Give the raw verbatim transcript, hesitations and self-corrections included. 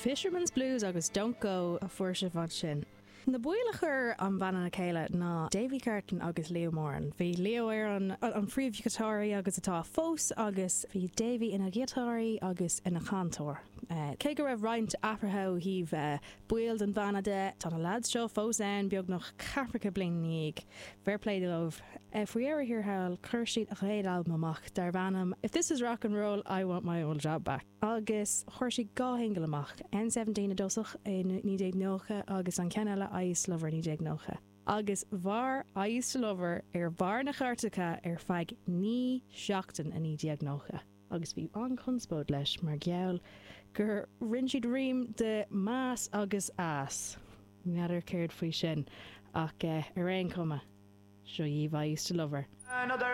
Fisherman's Blues agus Don't Go a fuair sibh ansin. Na baill a chuir an banna le chéile ná Davy Carton agus Leo Moran. Bhí Leo ar an an phríomhghiotáraí agus atá fós agus bhí Davy ina ghiotáraí agus ina chantóir. Uh, cé go raibh roinnt athruithe ó thaobh uh, baill den bhanna de tá na lads seo fós ann beagnach ceathracha bliain ina dhiaidh. Fair play dóibh. Uh, Faoi dheireadh thiar thall chuir siad a chéad albam amach darb ainm If this is rock and roll, I want my old job back. Agus chuir siad dhá shingil amach N seventeen i dtosach i naoi déag nócha agus an ceann eile I Used to Love Her naoi déag nócha. Agus mhair I Used to Love Her ar bharr na cairteacha ar feadh naoi seachtain i naoi déag nócha. Agus bhí an-chonspóid leis mar gheall gur rinne siad rím de mass agus ass. N'fheadar céard faoi sin ach uh, ar aon chuma. Seo dhaoibh I Used to Love Her. Another